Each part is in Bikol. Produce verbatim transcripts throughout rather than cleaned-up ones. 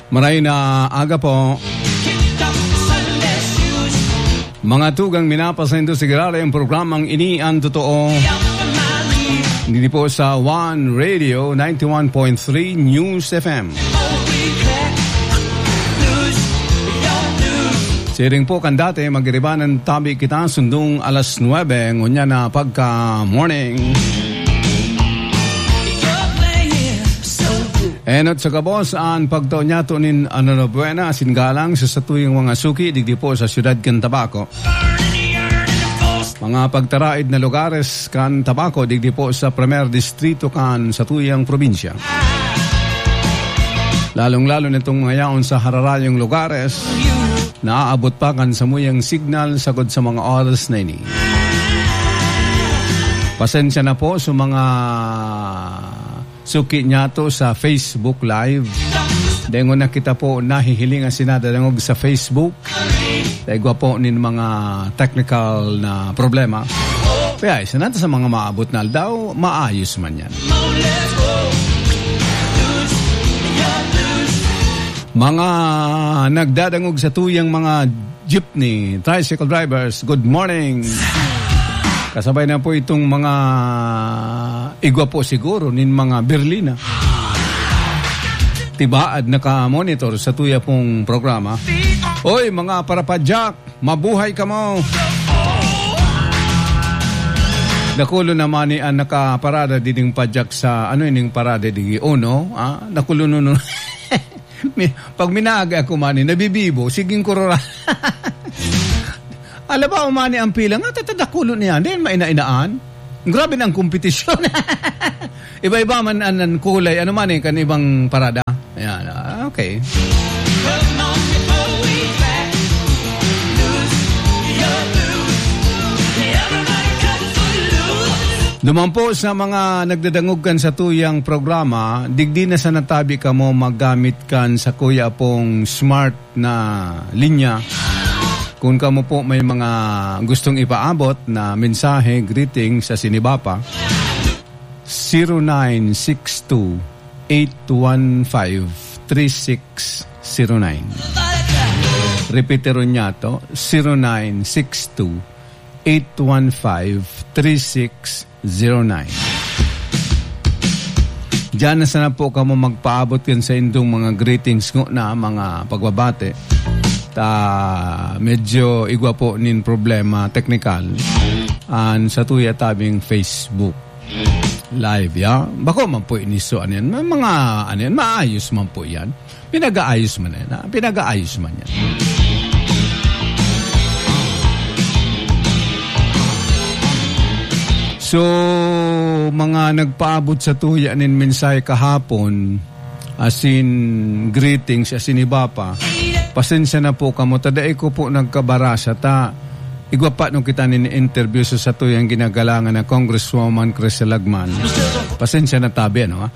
Maray na aga po. Mga tugang, minapasaindo sa giraray ang programang Ini Ang Totoo. Dito po sa One Radio, ninety-one point three News F M. Siring po kan dati, magiribanan tabi kita, sundong alas nuebe, ngunyan na pagka-morning. Enot sa gabos, an pagtao niyato nin ano na buena, asin galang sa satuyang mga suki, digdi po sa siyudad kan Tabaco. Mga pagtaraid na lugares kan Tabaco, digdi po sa Primer Distrito kan satuyang probinsya. Lalong-lalo nitong mga yaon sa hararayong lugares, naaabot pa kan samuyang signal sagod sa mga oras na ini. Pasensya na po sa mga suki niyato sa Facebook Live. Dengon na kita po nahihiling asin nadadangog sa Facebook. Dahil gwa po nin mga technical na problema. Kaya isa na sa mga maabot na aldaw, maayos man yan. Mga nagdadangog sa tuyang mga jeepney, tricycle drivers, good morning. Kasabay na po itong mga igwa po siguro nin mga Berlina. Tibaad naka-monitor sa tuya pong programa. Oy, mga parapadyak, mabuhay kamo. Dakulo naman ni ang nakaparada diding padyak sa, ano ining parada digi? Uno, ah? Dakulo nuno. Mi-, pag minaagi ako man, eh, nabibibo, siging kurura. Alam ba, umani ang pila nga, tatadakulo niya, dahil maina-inaan. Grabe na ang kompetisyon. Iba-iba man an, an kulay, ano man eh, kan ibang parada. Ayan, ah, okay. Duman po sa mga nagdadangog kan sa tuyang programa, digdi na sa natabi kamo maggamit kan sa kuya pong smart na linya. Kung kamo po may mga gustong ipaabot na mensahe, greetings sa Sinibapa, zero nine six two, eight one five, three six zero nine. Repetiron niya to, zero nine six two, eight one five, three six zero nine. Diyan na sana po kamo magpaabot kan saindong mga greetings ngona, mga pagbabati. Ta, medyo igwa po nin problema teknikal an sa tuya tabing Facebook Live, ya. Bako man po iniso, ano yan? May mga, ano yan? Maayos man po yan. Pinag-aayos man yan, ha? Pinag-aayos man yan. So, mga nagpaabot sa tuya nin mensahe kahapon, asin greetings, asin iba pa, pasensya na po kamo, ta dai ko po nagkabarasa, ta igwa pa no kita nin interview sa satuyang ginagalangan na Congresswoman Crisel Lagman. Pasensya na tabi, ano, ha?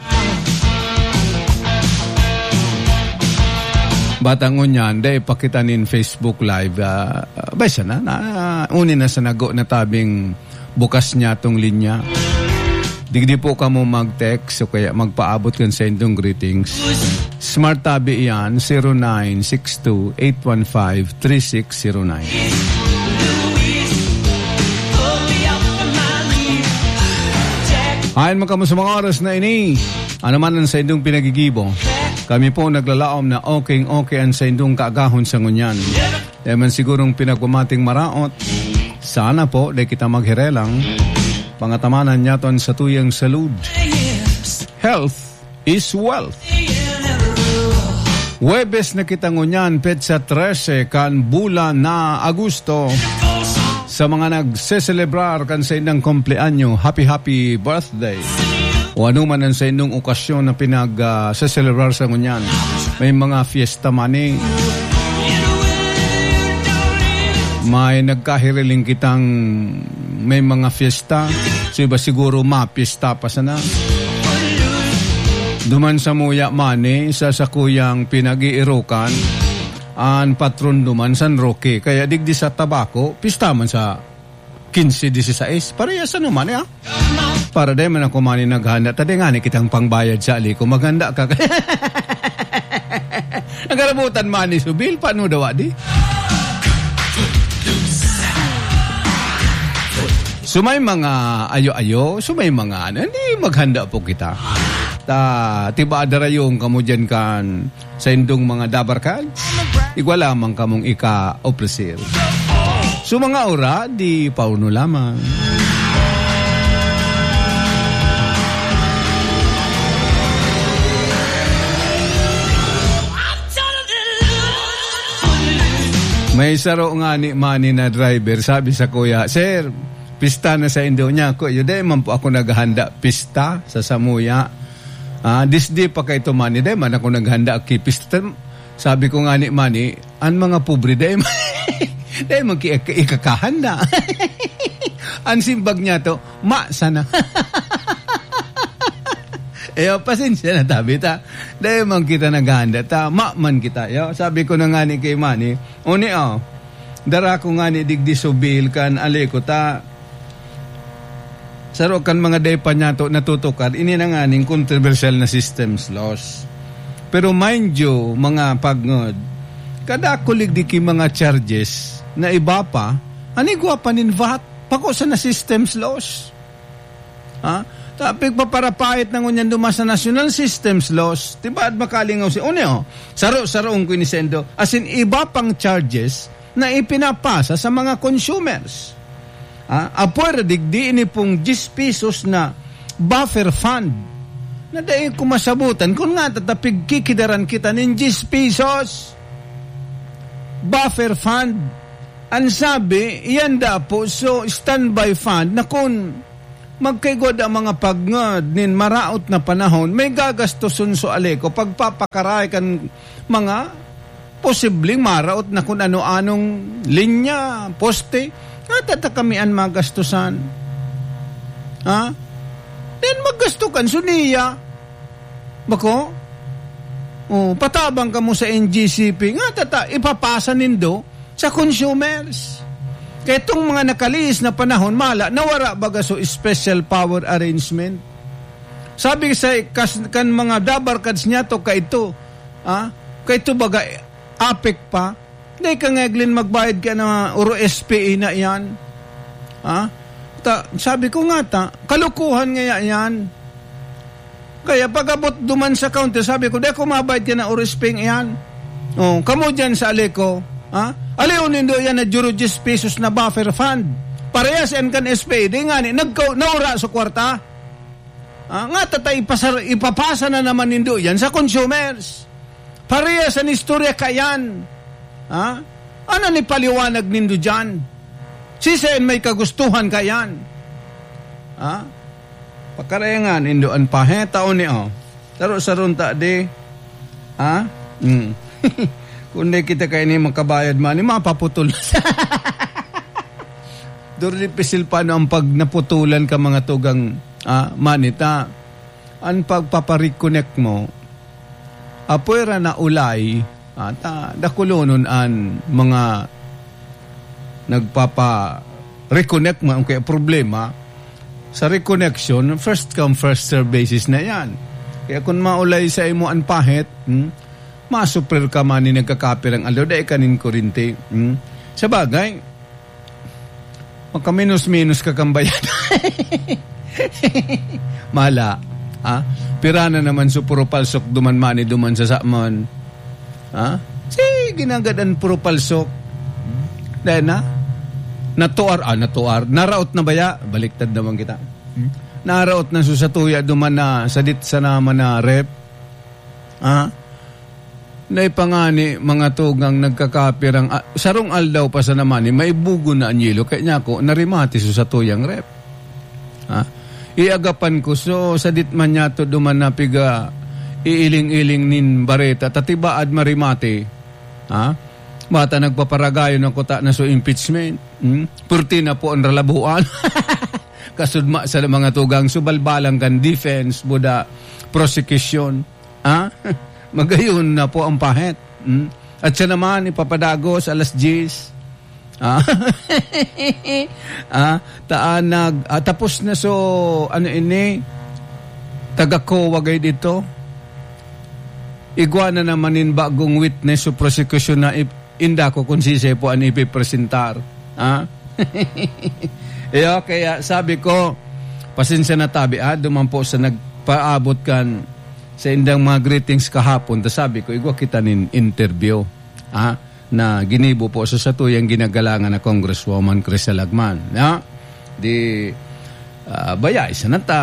Batang ngunyan, dai pa kita nin Facebook Live, ah, bay sana, na, uni na sa nago na tabing bukas niya tong linya. Digdi po kamo mag-text o kaya magpaabot kan saindong greetings. Smart tabi iyan, zero nine six two, eight one five, three six zero nine. Ayon man kamo sa mga oras na ini, ano man ang saindong pinagigibo, kami po naglalaom na okay-okay ang saindong kaagahon sa ngunyan. Dai man sigurong pinagmamating maraot. Sana po, dai kita magherelang. Pangatamanan niyato an satuyang salud. Health is wealth. Huwebes na kita ngunyan, petsa trese kan bulan na Agosto. Sa mga nagseselebrar kan saindang kumpleanyo, happy, happy birthday. O ano man ang saindong okasyon na pinag, ah, seselebrar sa ngunyan. May mga fiesta man eh. May nagkahiriling kitang may mga fiesta. So, iba siguro mapista pa sana. Duman sa muya man eh, sa sakuyang pinag-iirukan, an patron duman San Roque. Kaya digdi sa Tabaco, pista man sa quince, dieciséis. Parehas ano man eh, ah. Para dai man ako man eh naghanda. Ta dai ngani kitang pangbayad sa ali ko. Maghanda ka. Nagarabutan man ni Subil, paano daw, di? So, may mga ayo-ayo, so, may mga ano, hindi, maghanda po kita. Ta, tiba, darayong kamo dyan kan sa indong mga dabarkad. Igwa lamang kamong ika-opresir. So, mga ora, di pauno lamang. May saro ngani man na driver, sabi sa kuya, "Sir, pista na sa indo niya." Kuya, "Dai man po ako naghahanda pista sa samuya. Ah, disdi pa kay ito, mani, dai man ako naghanda ki pista." Sabi ko ngani, mani, "An mga pobre, dai man, dai man ki-, ikakahanda." An simbag niya to, "Ma sana." Eh, oh, pasensya na, tabi ta. Dai man kita naghahanda ta, ma man kita, yo. Sabi ko na ngani kay mani, "Uni, oh, dara ko ngani digdi Subil kan Aleco ta." Saro kan mga dai pa niya to natutukar, ini na nganing controversial na systems loss. Pero mind you, mga pagngod, kada kulig di ki mga charges na iba pa, an igwa pa nin vat, pako sa na systems loss. Ha? Ta, pigpaparapait na ngunyan duman sa national systems loss. Diba, at makalingaw si, uni, oh, saro-saroon ko ini sendo. As in, iba pang charges na ipinapasa sa mga consumers. Ah, apwera digdi ini pong diyes pesos na buffer fund na dai ko masabutan kun nga tatapig kikidaran kita nin diyes pesos. Buffer fund. An sabi, iyan da po, so, standby fund na kun magkaigwa da mga pagngad nin maraot na panahon, may gagastoson so Aleco, pagpapakaray kan mga posibleng maraot na kun ano-anong linya, poste, nga tata kami an magastusan. Ha? Then maggasto kan suniya. Bako? Oh, patabang kamo sa N G C P. Nga tata, ipapasa nindo sa consumers. Kaya itong mga nakalihis na panahon, mala, nawara baga so special power arrangement. Sabi sa kas-, kan mga dabarkads niya to, kaito, ah, kaito baga, apek pa, dai ka ngaglin magbayad ka na oro S P A na iyan. Ah, ta, sabi ko nga ta, kalukuhan nga iyan. Kaya pag-abot duman sa counter, sabi ko, "Di ako mabayad ka na oro S P A iyan." Oh, kamo dyan sa Aleco, ah, aliw nindo yan na juro diyes pesos na buffer fund. Parehas yan kan S P A, di nga ni, nagka-, naura sa kwarta. Ah, nga tata ipasar-, ipapasa na naman nindo yan sa consumers. Parehas an istorya kayan. Ha? Ano ni paliwanag nindo diyan? Siisay an may kagustuhan kayan? Ha? Pakarayangan nindo an paheta o ni, oh. Saro-saron ta di. Ha? Hmm. Kung di kita kaini makabayad man, mapaputol. Duro di pisil pa no ang pag naputulan ka mga tugang, ah, manita. An pagpapareconnect mo, apwera na ulay, ata dakulonon an mga nagpapa-reconnect mo, ang kaya problema, sa reconnection, first come, first serve basis na yan. Kaya kung maulay sa imo an pahit, hmm, masuprir ka man ni nagkakapirang aldaw, dai ka nin kurente. Hmm? Sa bagay, makaminos-minos ka kan bayad. Mala. Ha? Pira na naman so puro palsok duman mani duman sa Samon. Ha? Sige, ginagadan puro palsok. Dahil na, natuar, ah, natuar. Naraot na baya? Baliktad naman kita. Hmm? Naraot na so satuya duman na sadit sa naman na rep. Ha? Naipangani, mga tugang nagkakapirang, ah, sarong aldaw pa sa naman, eh, maibugon na an yelo. Kaya niya ako, narimati so satuyang rep. Ha? Iagapan ko, so, sadit man niya to duman na piga iiling-iling nin bareta, tatibaad marimati. Ha? Bata nagpaparagayon ako ta na so impeachment. Hmm? Purti na po ang ralabuan. Kasudma sa mga tugang, so balbalang kan defense, buda, prosecution. Ha? Magayon na po ang pahit. Hmm? At siya naman, ipapadagos alas diyes. Ha? Ha? Taanag. Ah, tapos na so, ano ini? Taga-COA gay dito. igwa na naman nin bagong witness o prosekusyon na ip-, inda ko kung sisay po an ipipresentar. Ha? Iyo, kaya sabi ko, pasensya na tabi, ha? Duman po sa nagpaabot kan sa indang mga greetings kahapon, ta sabi ko, igwa kita nin interview, ha? Na ginibo po sa satuyang ginagalangan na Congresswoman Crisel Agman, ha? Di, ah, baya, isa na ta,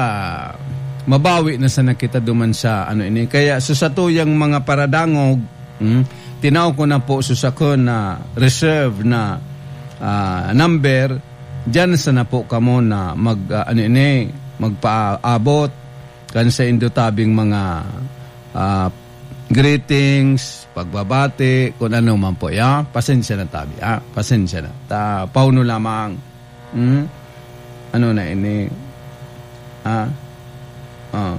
mabawi na sana kita duman sa ano ini. Kaya sa satuyang mga paradangog, hmm, tinao ko na po sa sakon na reserve na, ah, number, diyan sana po kamo na mag, ah, ano ini, magpaabot kan saindo tabing mga, ah, greetings, pagbabati, kung ano man po, ya. Pasensya na tabi, ah. Pasensya na. Ta, pauno lamang. Hmm? Ano na ini? Ah? Ah.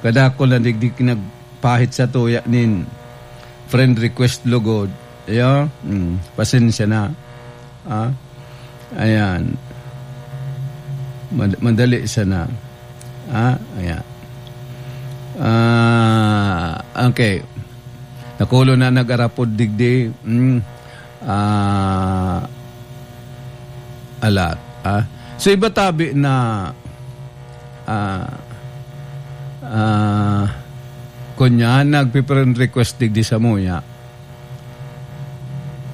Kadakol na digdi nagpahit sa tuya nin friend request lugod. Ya? Hmm. Pasensya na. Ah? Ayan. Mad-, madali sana. Ah? Ayan. Ah, okay. Nakulo na nag-arapod digdi. Hmm. Ah, a lot, ah. So, iba tabi na, ah, ah, kunya, nagpi-friend request digdi samuya.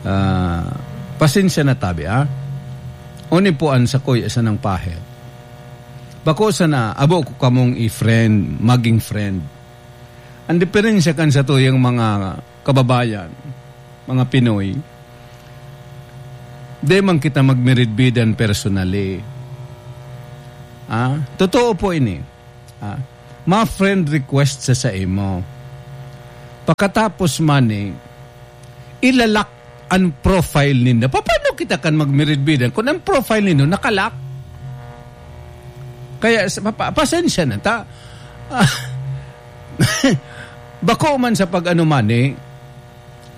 Ah, pasensya na tabi, ah. Oni po an sakuya sanang pahel. Bako sana, abo ko kamong i-friend, maging friend. Ang diferensya kan satuyang mga kababayan, mga Pinoy, di man kita magmiridbidan personally. Ah, totoo po ini. Ah, ma-friend request sa saimo. Pakatapos man eh, ilalak an profile ninda. Paano kita kan magmiridbidan kung ang profile ninyo nakalak? Kaya, sa-, pa-, pa-, pasensya na ta. Ah, bako man sa pag-ano man eh,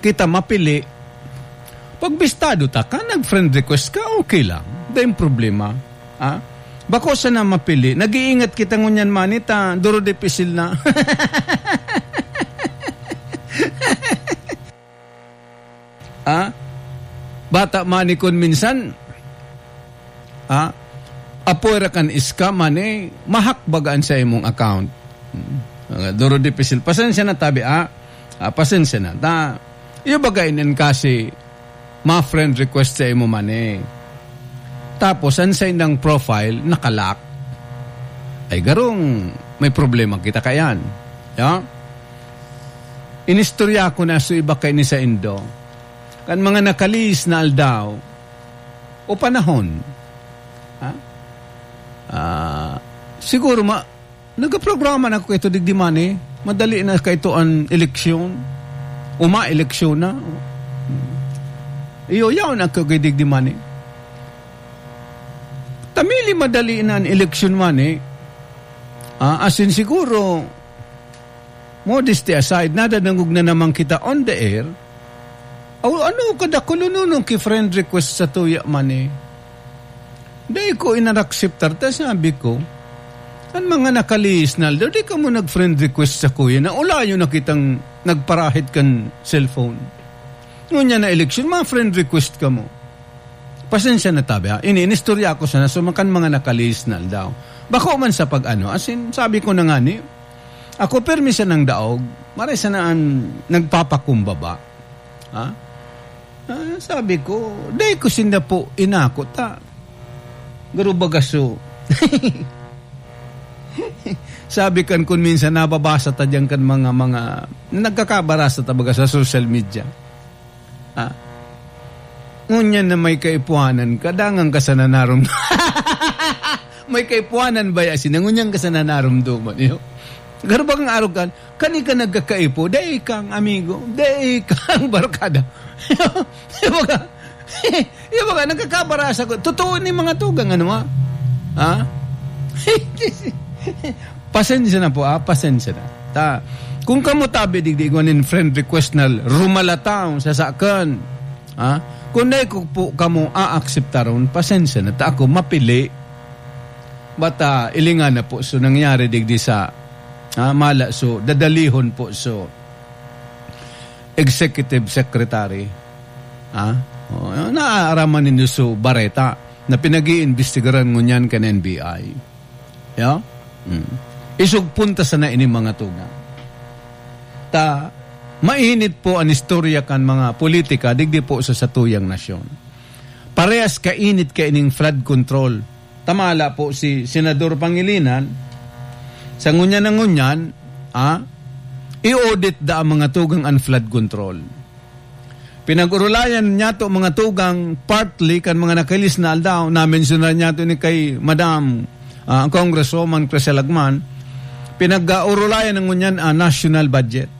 kita mapili. Pagbistado ta ka, nag-friend request ka, okay lang. Dai problema. Ah? Bako sana mapili. Nag-iingat kita ngunyan man eh, ta, duro dipisil na. Ah? Bata man ni kun minsan, ah, apoy ra kan scam man eh, mahak baga an sa imong account. Hmm. Ah, duro dipisil. Pasensya na tabi, ah. Ah, pasensya na. Ta, iyo baga inin kasi ma-friend request sa imo man eh. Tapos, an sa indang profile, nakalak. Ay, garong may problema kita kayan. Ya? Inistorya ko na so iba kay ni sa Indo. Kan mga nakalihis na aldaw o panahon. Ha? Ah, siguro ma-, nagaprograma na ako kaito digdi man eh. Madali na kaito an eleksyon. O ma-eleksyon na. Iyo, yaon ako kay digdi man eh. Tamili madali na an eleksyon man eh. Ah, asin siguro, modesty aside, nadadangog na naman kita on the air. Aw, ano ka dakulunon ki friend request sa tuya man eh? Dai ko inakseptar ta, sabi ko. An mga nakalihis na aldaw, di kamo nag-friend request sa kuya na ulayo na kitang nagparahit kan cellphone. Ngunyan na eleksyon, ma-friend request kamo. Pasensya na tabi, ha? Ini, inistorya ko sana, so, makan mga nakalihis na aldaw. Bako man sa pag-ano, as in, sabi ko na nga ni, ako, permi siya ng daog, maray sana an nagpapakumbaba. Ha? Ah, sabi ko, "Dai ko sinda po inako ta." Garo baga so. Sabi kan kun minsan nababasa ta diyan kan mga, mga nagkakabarasa ta baga sa social media. Ah. Ngunyan na may kaipuhanan ka, dangan ka sana narum-, may kaipuhanan ba ya sina? Ngunyan ka sana narumduman, iyo? Garo bagang arog kan, kani ka nagkakaipo, dai kang amigo, dai kang barkada. Iyo baga, iyo baga, nagkakabarasa ko. Totoo ni mga tugang, ano, ha? Ha? Pasensya na po, ah, pasensya na. Ta, kung kamo tabi digdi igwa nin friend request na rumalataw sa sakan, ah, kung dai ko po kamo aakseptaron, pasensya na. Ta ako mapili. Bata, ilingan na po. So, nangyari digdi sa, ah, mala. So, dadalihon po. So, executive secretary. Ha? O, naaaraman nindo su bareta na pinag-iimbestigaran ngunyan kan N B I. Ya? Hmm. Isog punta sana ini, mga tugang. Ta, mainit po an istorya kan mga politika, digdi po sa satuyang nasyon. Parehas kainit kaining flood control. Tamala po si Senador Pangilinan, sa ngunyan na ngunyan, ah, i-audit da ang mga tugang an flood control. Pinag-urulayan niyato, mga tugang, partly kan mga nakahilis na aldaw, na-mensionan niyato ni kay Madam, ah, Congresswoman Crisel Agman, pinag-urulayan na ngunyan ang national budget.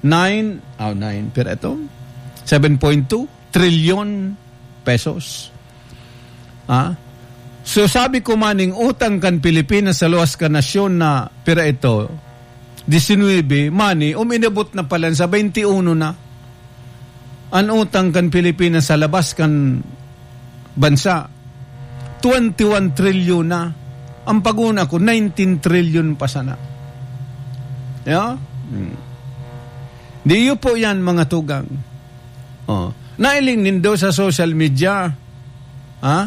Nine, oh, nine, pero ito, seven point two trilyon pesos. Ah? So, sabi ko, maning utang kan Pilipinas sa luwas kan nasyon na pira ito, disinuybe, mani, uminabot na pala sa twenty-one na. An utang kan Pilipinas sa labas kan bansa, twenty-one trilyon na. Ang paguna ko, nineteen trilyon pa sana. Ya? Hmm. Di iyo po yan, mga tugang. Oh. Nailing nindo sa social media, ha?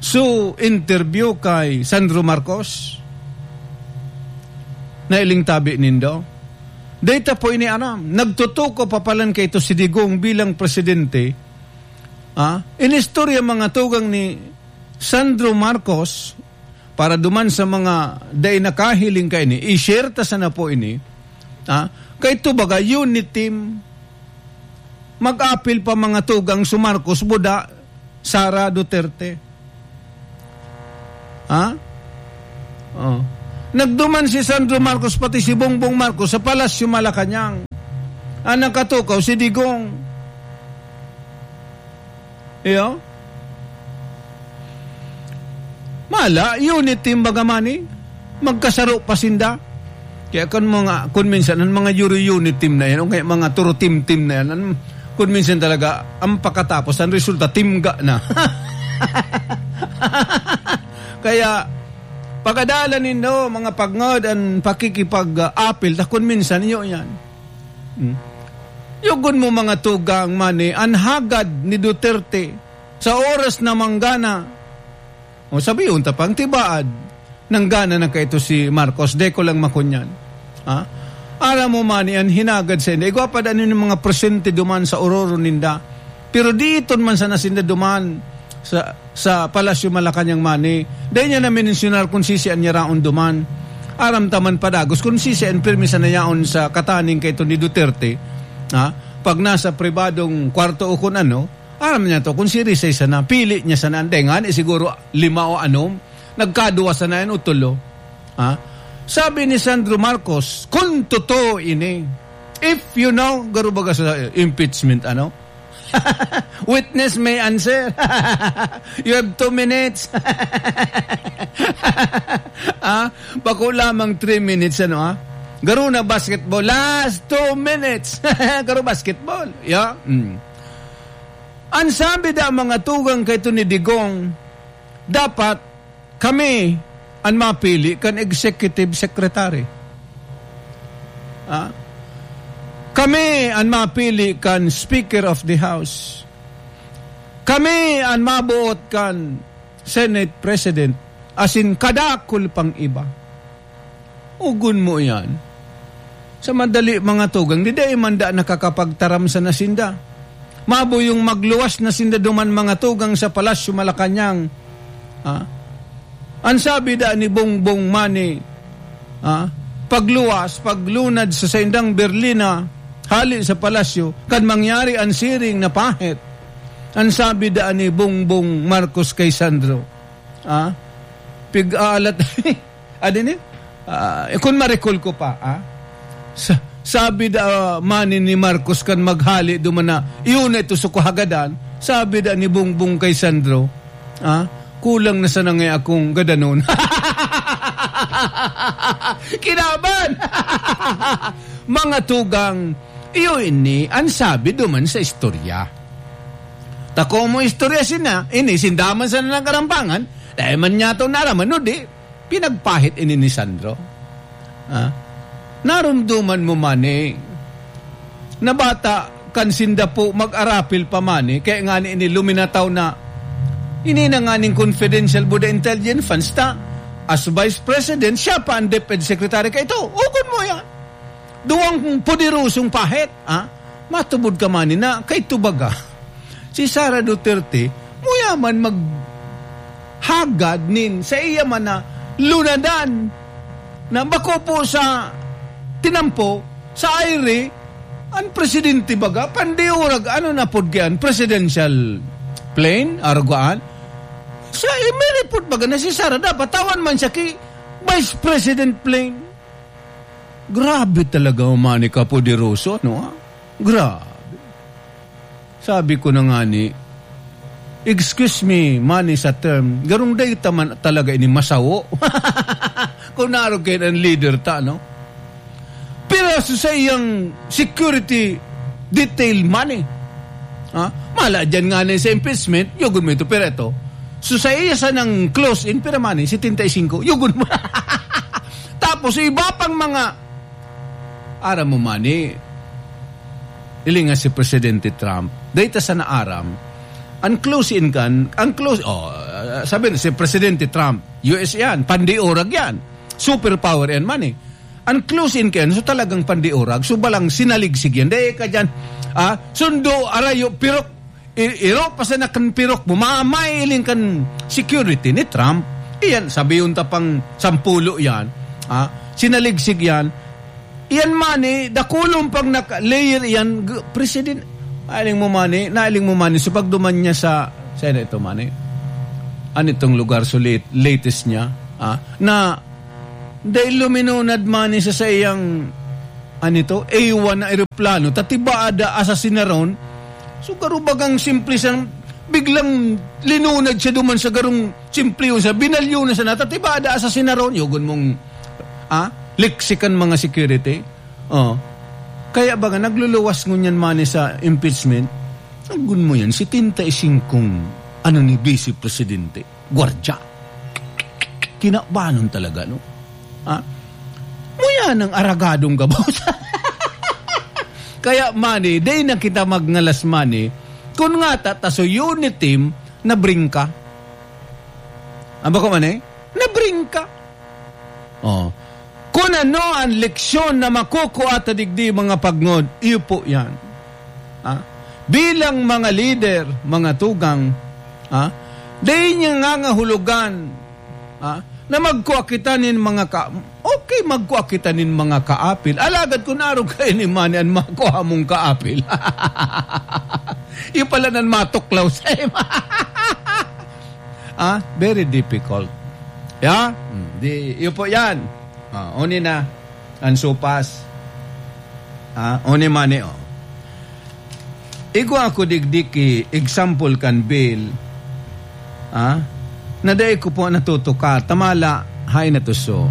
So, interview kay Sandro Marcos. Nailing tabi nindo. Data po ini, aram. Nagtutuko pa palan kay ito si Digong bilang presidente. Ha? Inistorya, mga tugang, ni Sandro Marcos, para duman sa mga dai nakahiling kaini, i-share ta sana po ini, ha? Kay ito baga, unit team, mag-apil pa, mga tugang, si Marcos, buda, Sara Duterte. Ha? Oh. Nagduman si Sandro Marcos, pati si Bongbong Marcos, sa Palasyo Malacañang. Ang nakatukaw, si Digong. Iyo? Mala, unit team baga man eh. Magkasaro pa sinda. Kaya kun mga, kun minsan, ang mga Euro unit team na yan, o kaya mga Turo team team na yan, ang, kun minsan talaga, ang pakatapos, ang resulta, timga na. Kaya, pagadalan nindo, mga pagngod, ang pakikipag-apil, ta kun minsan, iyo yan. Hmm. Yugon mo, mga tugang, mani, an hagad ni Duterte sa oras na manggana. O, sabihon ta pang tibaad, nanggana na kaito si Marcos, dai ko lang makunyan. Ha? Aram mo, mani, an hinagad sa inda. Igwa pa daan yung mga presente duman sa ororo ninda. Pero diiton man sana sinda duman sa sa Palasyo Malacañang, mani. Dai niya na-mensionar kun sisi an yaraon duman. Aram ta man padagos kun sisi an pirmi sana yaon sa kataning kaito ni Duterte. Ha? Pag nasa pribadong kwarto o kun ano, aram niya to, kun si Rizal sana, pili niya sana, dai ngani siguro lima o anom, nagkaduwa sana yan o tulo. Ha? Sabi ni Sandro Marcos, kun totoo ini, if you know, garo baga sa impeachment, ano? Witness may answer. You have two minutes. Ah, bako lamang three minutes, ano, ah? Garo na basketball. Last two minutes. Garo basketball. Yeah? Mm. An sabi da mga tugang kay Tony Digong, dapat kami an mapili kan executive secretary. Ah? Kami an mapili kan Speaker of the House. Kami an maboot kan Senate President, asin kadakul pang iba. Ugon mo iyan. Sa madali, mga tugang, di dai man da nakakapagtaram sana sinda. Maboyong magluwas na sinda duman, mga tugang, sa Palasyo Malacañang. Ha? An sabi da ni Bongbong mani, ha? Pagluwas, paglunad sa saindang berlina, hali sa palasyo, kan mangyari an siring na pahit. An sabi da ni Bongbong Marcos kay Sandro, ha? Pig-aalat. Adi ni? Ah, eh, kun ma-recall ko pa, ah, sa-, sabi da, ah, mani ni Marcos kan maghali duman na, "Iyo na ito sa kuhagadan." Sabi da ni Bongbong kay Sandro, ah, "Kulang na sana nga akong gadanon." Kinaban! Mga tugang, iyo ini an sabi duman sa istorya. Ta komo istorya sina, ini sinda man sana nagkarampangan, dai man niya to naraman, no di? Pinagpahit ini ni Sandro. Ah? Narumduman mo man eh, na bata kan sinda po mag-arapil pa man, eh. Kaya nga ni, ini luminataw na, ini na nga ning confidential buda intelligence funds ta. As vice president, siya pa ang DepEd secretary. Kaya ito, ugon mo yan. Duwang poderosong pahit, ha? Matubod ka man na, kay tubaga. Si Sara Duterte, muya man maghagad nin sa iya man na lunadan na bako po sa tinampo, sa aire, ang presidente baga, pandiurag, ano na pod kaya, presidential plane, arugaan. Sa, eh, may report baga na si Sara, dapat tawan man siya ki Vice President plane. Grabe talaga, Manny, kapoderoso, ano, ha? Grabe. Sabi ko na nga ni, "Excuse me, Manny, sa term, garong data man talaga ini masawo." Kung narog kayo ng leader ta, no? Pero sa iyang security detail, Manny. Ha? Mala dyan nga na sa impeachment, yugon mo ito, pero ito. So sa iya sa nang close in, pero Manny, setenta y cinco, yugon mo. Tapos, iba pang mga, aram mo, Manny, ilinga si Presidente Trump, data sa naaram, ang close in kan, ang close, oh, sabi na, si Presidente Trump, U S yan, pandiurag yan, superpower yan, Manny. Ang close in kan, so talagang pandiurag, so balang sinaligsig yan. Dahil ka dyan, ah, sundo, arayo, pirok, i-, iro pa sa nakan pirok mo, mamailing kan security ni Trump. Iyan, sabi yung tapang sampulo yan, ah, sinaligsig yan. Iyan man eh, dakulong pang naka-layer iyan, g-, president, nailing mo man eh, nailing mo man eh, so pagduman niya sa, sa ano ito man eh, ano itong lugar, so late, latest niya, ah, na, dahil luminunad man eh sa saiyang, ano ito, A one na eroplano, tatibada, asasinaron, so karubagang simple siyang, biglang linunad siya duman sa garong simple yun, sa binalyo na sa natatibada, asasinaron, yugon mong, ah, lexikan mga security. Oh. Kaya baga, nagluluwas ngunyan man sa impeachment, agun mo yan, setenta y singkong, ano ni Vice Presidente, gwardya. Kinabanon talaga, no? Ha? Muya ng aragadong gabos. Kaya, Manny, day na kita magngalas, Manny. Kun nga ta, ta so unit team, nabringka. Aba ko man eh? Nabringka. Oh. Kun ano ang leksyon na makukuha ta digdi, mga pagngod, iyo po yan. Ah? Bilang mga lider, mga tugang, ah? Dai niya ngangahulugan, ah? Na magkua kita nin mga ka-, okay, magkua kita nin mga kaapil. Alagad kun arog kayo ni Manny an makua mong kaapil. Iyo pala nan matuklaw sa ima. Ah, very difficult. Yeah? Hmm, di, iyo po yan. Ah, oni na, ang supas. Ah, oni man eh, oh. Igwa ako digdi ki example kan bill. Ah, na dai ko po natutuka. Tamala, hay natuso.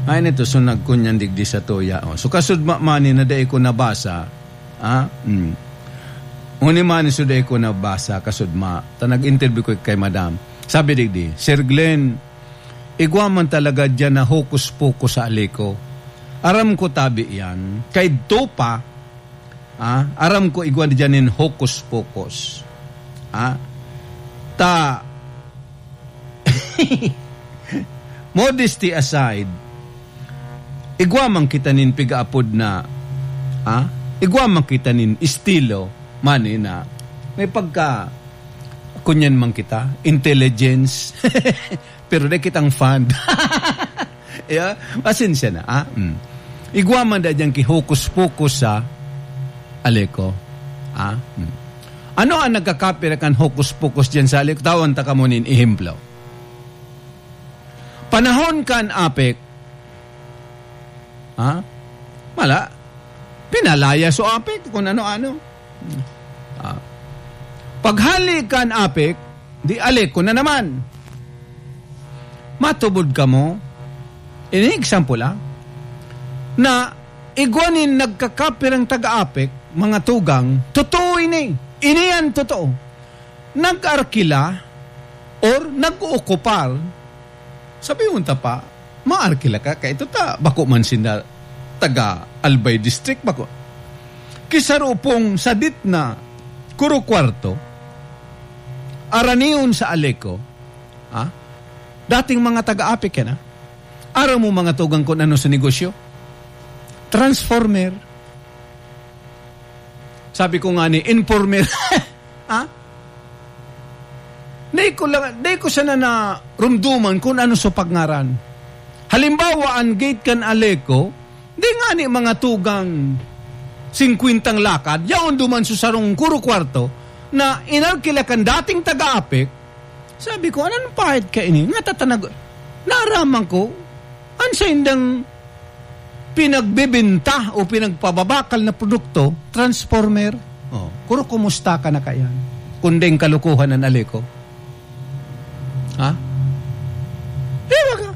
Hay natuso nagkunyan digdi sa tuya, oh. So, kasud ma-, mani na dai ko nabasa. Ah, mm. Oni man ni suday ko nabasa, kasudma, ta nag-interview ko kay madam. Sabi digdi, "Sir Glenn, igwa man talaga diyan na hokus-pokus sa Aleco. Aram ko tabi yan. Kaidto pa, ah, aram ko igwa diyan nin hokus-pokus." Ah, ta, modesty aside, igwa man kita nin pigaapod na, ah, igwa man kita nin estilo, mani na may pagka, kunyan man kita, intelligence, pero dai kitang fund. Yeah? Pasensya na, ah? Mm. Igwa man da dyan ki hokus-pokus sa Aleco. Ah? Mm. Ano ang nagkakapira kan hokus-pokus dyan sa Aleco? Tawan ta kamo nin ehemplo. Panahon kan APEC, ha? Wala. Pinalaya so APEC kung ano-ano. Ah. Paghali kan APEC, di Aleco na naman. Matubod kamo? Ini example, ah. Na igwa nin nagkakapirang taga-APEC, mga tugang, totoo ini. Ini an totoo. Nag-arkila or nag-ookupar, sabi mo ta pa, maarkila ka, kaya ito ta, bako man sinda taga Albay District, bako. Ki sarupong sadit na kuro kwarto, aranion sa Aleco, ha? Dating mga taga-apik yan, ha? Aram mo mga tugang kun ano sa negosyo? Transformer. Sabi ko nga ni, informer. Ha? Dai ko lang, dai ko sana narumduman kun ano sa pagngaranan. Halimbawa, an gate kan Aleco, dai ngani mga tugang singkwentang lakad, yaon duman sa sarong kuro kwarto na inalkila kan dating taga-apik. Sabi ko, "Anong pahit kaini?" Nga tatanag, naaraman ko, an saindang pinagbebenta o pinagpababakal na produkto, transformer. Oh, kuro kumusta ka na kaiyan? Kun daing kalukuhan an Aleco. Ha? Di ba ka?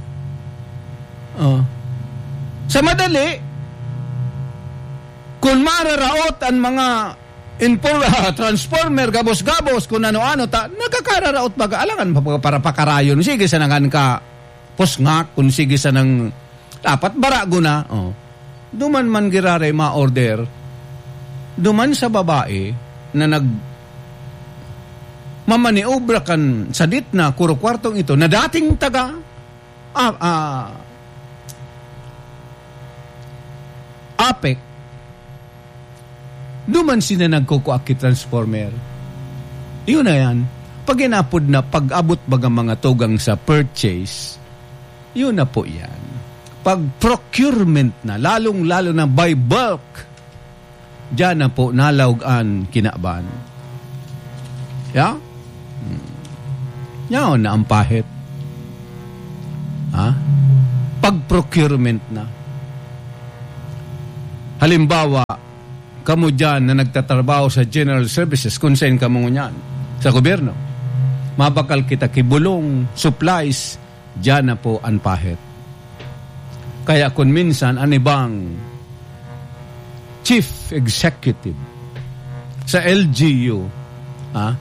Oh. Sa madali, kun mararaot an mga infor-, transformer, gabos-gabos, kun ano-ano, ta, nagkakararaot baga, alangan pa, para pakarayon. Sige, sa nangan ka, pusngak, kun sige sanang dapat barago na, oh. Duman man giraray ma-order, duman sa babae na nag-, mamaniobra kan sadit na kuro kwartong ito na dating taga, ah, ah, apek, duman sina nagkukua ki transformer. Yun na yan. Pag inapod na, pag-abot baga mga tugang sa purchase, yun na po yan. Pag procurement na, lalong-lalo na by bulk, diyan na po nalaog an kinaban. Ya? Hmm. Yaon na ang pahit. Ha? Pag procurement na. Halimbawa, kamo diyan na nagtatrabaho sa general services, kung saan kamo ngunyan, sa gobyerno, mabakal kita ki bulong, supplies, diyan na po an pahit. Kaya kun minsan, an ibang chief executive sa L G U, ha,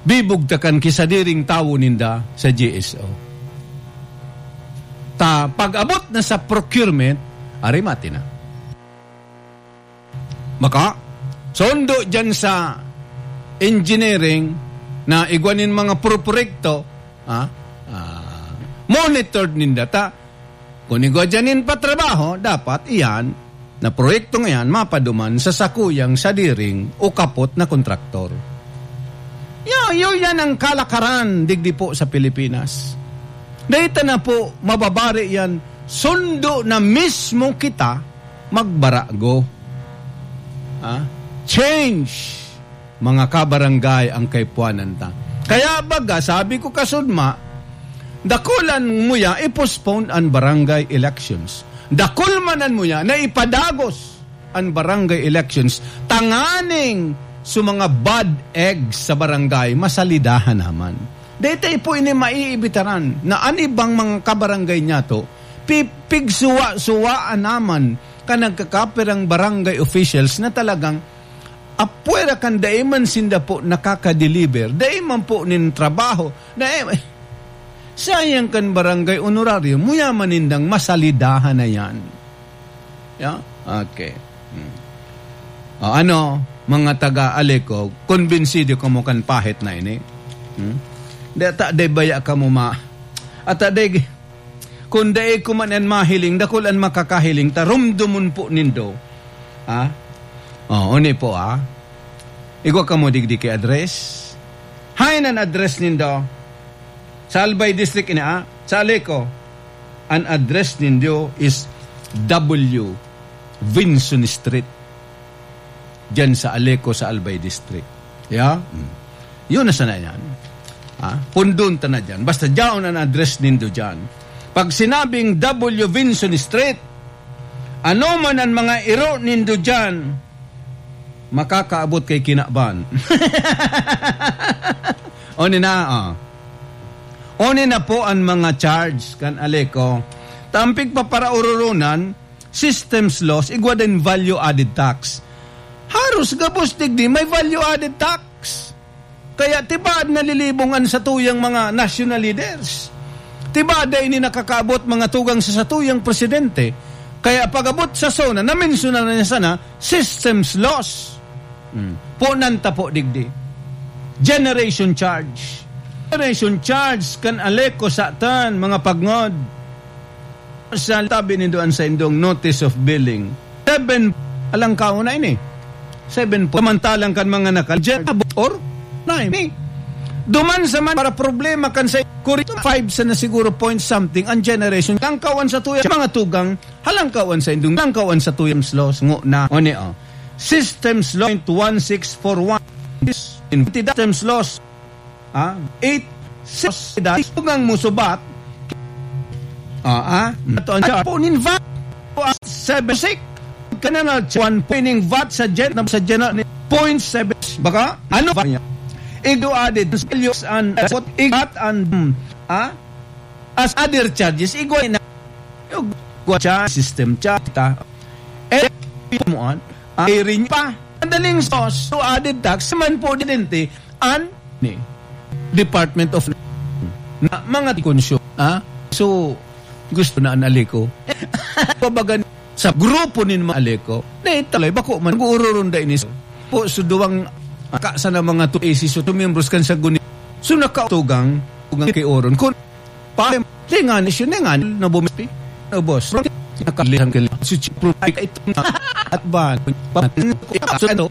bibugtakan ki sadiring tawo ninda sa G S O. Ta, pag-abot na sa procurement, ari mati na. Maka, sundo dyan sa engineering na igwa nin mga proproyekto, ha? Ah, monitored ninda ta. Kun igwa dyan nin patrabaho, dapat iyan na proyekto ngayan mapaduman sa sakuyang sadiring o kapot na kontraktor. Yo, yo, yan ang kalakaran digdi po sa Pilipinas. Dahil ta na po, mababari yan, sundo na mismo kita magbarago. Ha? Change, mga kabarangay, ang kaipuanan ta. Kaya baga, sabi ko kasudma, dakulan mo ya, i-postpone an barangay elections. Dakulmanan mo ya na ipadagos an barangay elections tanganing sa mga bad eggs sa barangay, masalidahan naman. Dito po ini maiibitaran na an ibang mga kabarangay niyato, pi-, pigsuwa-suwaan naman kan nagkakapirang barangay officials na talagang apwera kan dai man sinda po nakaka-deliver, dai man po nin trabaho, dai, sayang kan barangay honorario, muya man nindang masalidahan na yan. Ya? Okay. Hmm. O, ano, mga taga-Aleco, kumbinsido kamo kan pahit na ini? Hmm? Di ata, di baya kamo ma-, ata, di, kun dai ko man an mahiling, dakul an makakahiling, ta rumdomon po nindo. Ha? O, uni po, ha? Igwa kamo digdi ki address. Hain an address nindo? Sa Albay District ini, ah, sa Aleco, an address nindo is W Vinson Street. Diyan sa Aleco, sa Albay District. Yeah? Mm. Yun na sana yan. Ah, pundon ta na dyan. Basta dyan an address nindo dyan. Pag sinabing W Vinson Street, ano man ang mga iro nindo dyan, makakaabot kay kinaban. Oni na, oh. Oni na po ang mga charge kan Aleco. Tampig paparaororonan, systems loss, igwa din value added tax. Haros gabos digdi may value added tax. Kaya tibaad nalilibong an satuyang mga national leaders. Tibaad dai ini nakakaabot mga tugang sa satuyang presidente. Kaya pag-abot sa SONA, namensyonan na niya sana, systems loss. Hmm. Punan ta po digdi. Generation charge. Generation charge kan ALECO sa atan, mga pagngod. Sa tabi nindo an saindong notice of billing. Seven, alang kaon na ini. Seven po. Samantalang kan mga nakal-, or nine. Duman sa man para problema kan sa kurito five sa na siguro point something ang generation. Alang kaon sa tuya, mga tugang, halangkawan sa indong, halangkawan sa tuyang slows, ngo na. O ni, oh. Systems law point one six four one. Systems laws. Ah, eight, six, tugang mo subat. Ah, ah. Ito ang chart. Punin vat. Seven six. Kanang one pointing vat sa gen-, sa general ni point seven. Baka, ano ba niya? Igo added, values and, what, igat and, ah, as other charges, igwa na. Igwa charge, system charge, ta. Eh, mo an, ah, rin pa. Madaling sos, so added tax, man po didente, an, ni, Department of, na, mga konsumo, ha? So, gusto na an ALECO. Pabagan sa grupo nin mga ALECO, na italay, bako man, nag-uururunda ini. Po, so duwang, ah, ka, sana mga two A C, so two members kan sa guni. So, nakautugang, tugang kay Oron. Kung, pa, lingan, isyu, lingan, na bumispi. Na boss, nakalihan ka lang. So, chipro, ay, ito na. At ba, pa, so, ano,